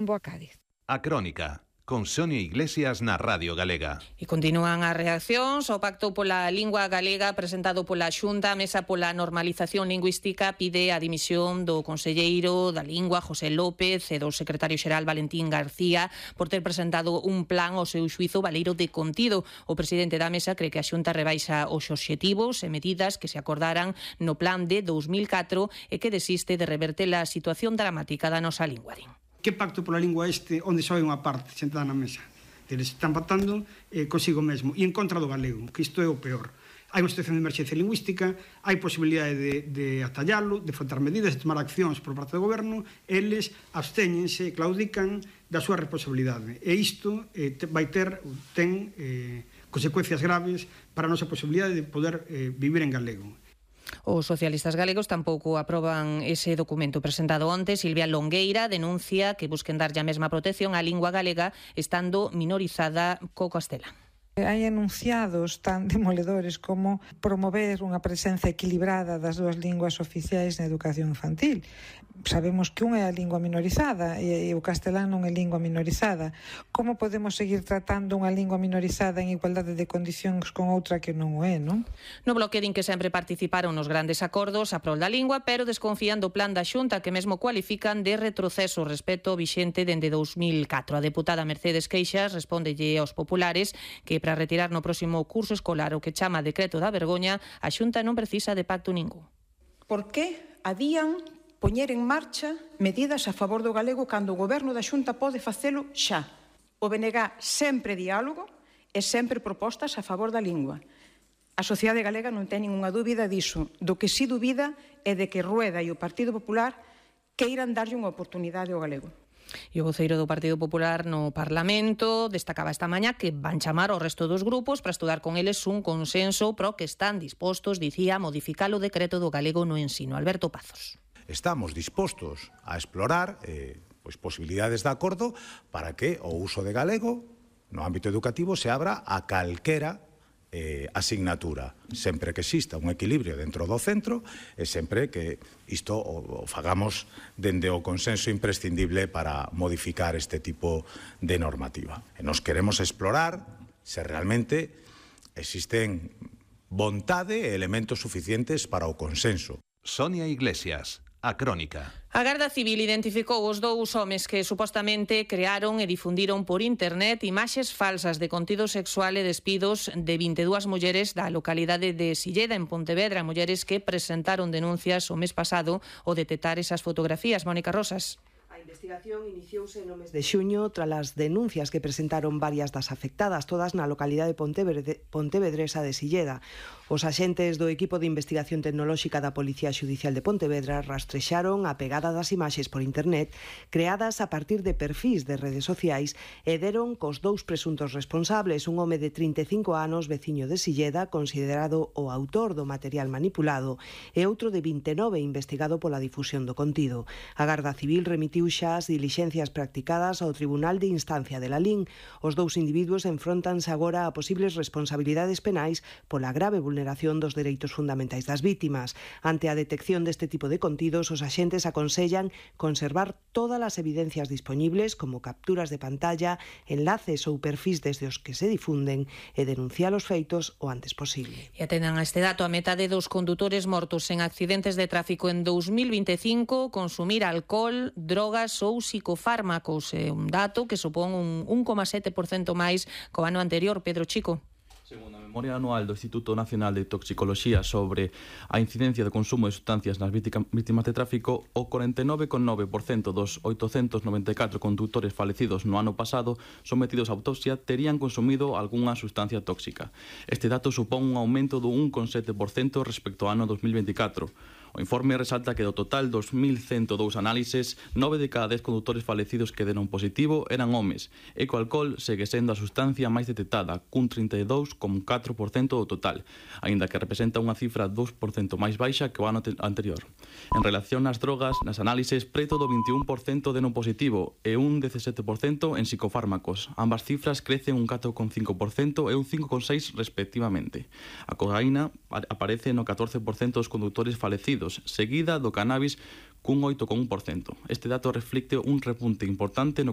rumbo a Cádiz. A Crónica, con Sonia Iglesias na Radio Galega. E continúan as reaccións ao Pacto pola Lingua Galega presentado pola Xunta. A Mesa pola Normalización Lingüística pide a dimisión do conselleiro da Lingua, José López, e do secretario xeral Valentín García por ter presentado un plan ao seu xuízo baleiro de contido. O presidente da Mesa cree que a Xunta rebaixa os obxectivos e medidas que se acordaran no plan de 2004 e que desiste de reverter a situación dramática da nosa lingua. Que pacto pola lingua onde só hai unha parte sentada na mesa? Eles están pactando consigo mesmo e en contra do galego, que isto é o peor. Hai unha situación de emerxencia lingüística, hai posibilidade de atallalo, de afrontar medidas, de tomar accións por parte do goberno, eles abstéñense, claudican da súa responsabilidade. E isto ten consecuencias graves para a nosa posibilidade de poder vivir en galego. Os socialistas galegos tampouco aproban ese documento presentado onte. Silvia Longueira denuncia que busquen darlle a mesma protección á lingua galega estando minorizada co castelán. Hai enunciados tan demoledores como promover unha presenza equilibrada das dúas linguas oficiais na educación infantil. Sabemos que unha é a lingua minorizada e o castelán non é lingua minorizada. Como podemos seguir tratando unha lingua minorizada en igualdade de condicións con outra que non o é, non? No Bloque din que sempre participaron nos grandes acordos a prol da lingua, pero desconfían do plan da Xunta, que mesmo cualifican de retroceso respecto ao vixente dende 2004. A deputada Mercedes Queixas respóndelle aos populares que para retirar no próximo curso escolar o que chama decreto da vergoña, a Xunta non precisa de pacto ningún. Por que habían poñer en marcha medidas a favor do galego cando o goberno da Xunta pode facelo xa? O BNG sempre diálogo e sempre propostas a favor da lingua. A sociedade galega non ten ninguna dúbida diso. Do que si dúbida é de que Rueda e o Partido Popular queiran darlle unha oportunidade ao galego. E o voceiro do Partido Popular no Parlamento destacaba esta mañá que van chamar ao resto dos grupos para estudar con eles un consenso pro que están dispostos, dicía, a modificar o decreto do galego no ensino. Alberto Pazos. Estamos dispostos a explorar posibilidades de acordo para que o uso de galego no ámbito educativo se abra a calquera asignatura, sempre que exista un equilibrio dentro do centro e sempre que isto o fagamos dende o consenso imprescindible para modificar este tipo de normativa. E nos queremos explorar se realmente existen vontade e elementos suficientes para o consenso. Sonia Iglesias, A Crónica. A Garda Civil identificou os dous homes que supostamente crearon e difundiron por internet imaxes falsas de contido sexual e despidos de 22 mulleres da localidade de Silleda, en Pontevedra, mulleres que presentaron denuncias o mes pasado ao detectar esas fotografías. Mónica Rosas. A investigación iniciouse no mes de xuño tras as denuncias que presentaron varias das afectadas, todas na localidade pontevedresa de Silleda. Os axentes do equipo de investigación tecnolóxica da Policía Xudicial de Pontevedra rastrexaron a pegada das imaxes por internet creadas a partir de perfís de redes sociais e deron cos dous presuntos responsables, un home de 35 anos, veciño de Silleda, considerado o autor do material manipulado, e outro de 29, investigado pola difusión do contido. A Garda Civil remitiu xa as dilixencias practicadas ao Tribunal de Instancia de Lalín. Os dous individuos enfróntanse agora a posibles responsabilidades penais pola grave vulneración dos dereitos fundamentais das vítimas. Ante a detección deste tipo de contidos, os axentes aconsellan conservar todas as evidencias disponibles, como capturas de pantalla, enlaces ou perfís desde os que se difunden, e denunciar os feitos o antes posible. E atendan a este dato, a metade dos condutores mortos en accidentes de tráfico en 2025 consumir alcohol, drogas ou psicofármacos. É un dato que supón un 1,7% máis co ano anterior. Pedro Chico. Segundo a memoria anual do Instituto Nacional de Toxicoloxía sobre a incidencia do consumo de sustancias nas vítimas de tráfico, o 49,9% dos 894 condutores falecidos no ano pasado sometidos a autopsia terían consumido algunha sustancia tóxica. Este dato supón un aumento do 1,7% respecto ao ano 2024. O informe resalta que do total 2.102 análises, 9 de cada 10 condutores falecidos que deron positivo eran homes, e co alcohol segue sendo a sustancia máis detectada, cun 32,4% do total, aínda que representa unha cifra 2% máis baixa que o ano anterior. En relación ás drogas, nas análises, preto do 21% deron positivo e un 17% en psicofármacos. Ambas cifras crecen un 4,5% e un 5,6% respectivamente. A cocaína aparece no 14% dos condutores falecidos, seguida do cannabis cun 8,1%. Este dato reflicte un repunte importante no